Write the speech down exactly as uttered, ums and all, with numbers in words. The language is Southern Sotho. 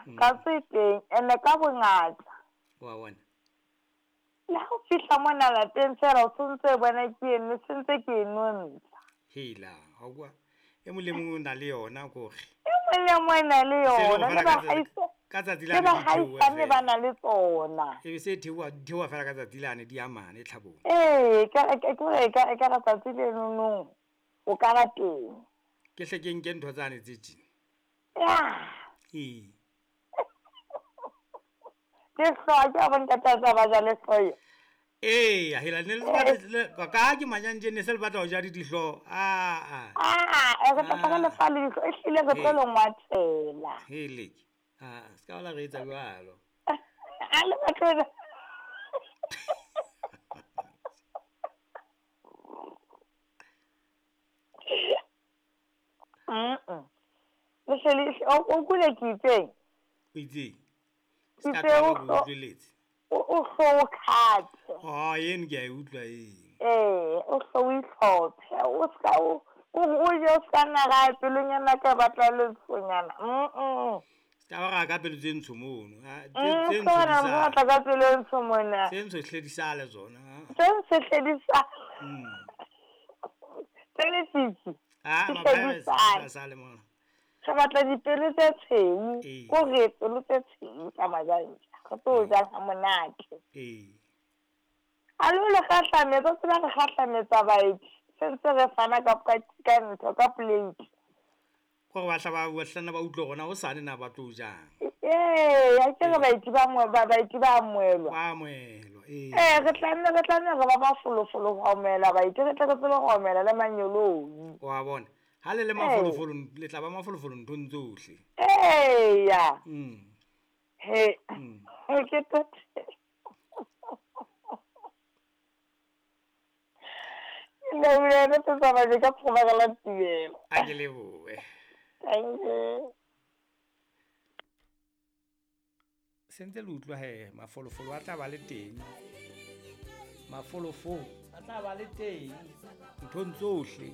Katse e teng ene ka bongata. Wa bona. Le ha o fihla mona lapeng fela o sontse o bona ke eno sentse ke e nontsha. Hela, ha kwa. E mong le mong o na le yona kore. E mong le mong o na le Se le yona hore le fela ka tsatsi- baahisane ka tsatsi le lane di theoha baahisane ba fela. na le tsona. E be se theoha di theoha fela ka tsatsi lane di amane tlhabong. Ee, ka ke hore e ka e ka re tsatsi lenonong o ka ba teng. Ke hle ke nke ntho tsane tse tjena. Ya. Ee. Ke hlooho ke a bo ntate a tsa ba ja le hlooho. Ee, hela ne le batla le ka ka ke manyantje ne se le batla ho ja di dihlooho. Ah ah. Ah, e re tla re le fa le dihlooho, ehlile re tlo le ngwathela. Hele. Ah, se ka la re etsa jwalo. A le batle Mm. Le hle le o o kule ke itseng. O itseng. Se ka Itse tloha o ba hlo- utlweletse. o o hlo o khathe. Oh, eno ke a e utlwa eno. Ee, o hlo o itlhophe, o ska o o o je o ska nna pelonyana ka batla lentshonyana. Mm. Se ka ba ra ka pelo tse ntsho mono. Ah, tse Mm, tse se ntsho di wena o sale. batla ka pelo e ntsho mona. Tse ntsho hle di sale tsona. ah. Tse ntsho hle di sale. Mm. Tse lefifi. Ah, di hle di maphaese sale. a sale mona. Re batla dipelo tse tshweu. Ee. Ko re pelo tse tshweu tsa majantja. Re tlo ja ha monate. Ee. A lo le kgahlametsa, o tseba re kgahlametsa baeti. Se ntse re fana ka ka ka ntho ka plate. Kore ba hla ba ba hlana ba utlwe hore na hosane na ba tlo jang. Ee, a ke re baeti ba mo ba baeti ba amohelwa. Ba amohelwa, ee. Ee, re tlameha re tlameha re ba mafolofolo ho amohela baeti, re tle re tsebe ho amohela le manyoloi. Wa bona. Ha le le mafolofolo, le tla ba mafolofolo nthong tsohle. Eya. Mm. He. Mm. Ke tote. Ke lebohile re tlo tsamaya ka phomagala tumelo. A ke lebohe. Thank you. Sentse le utlwa he mafolofolo a tla ba le teng. Mafolofolo a tla ba le teng nthong tsohle.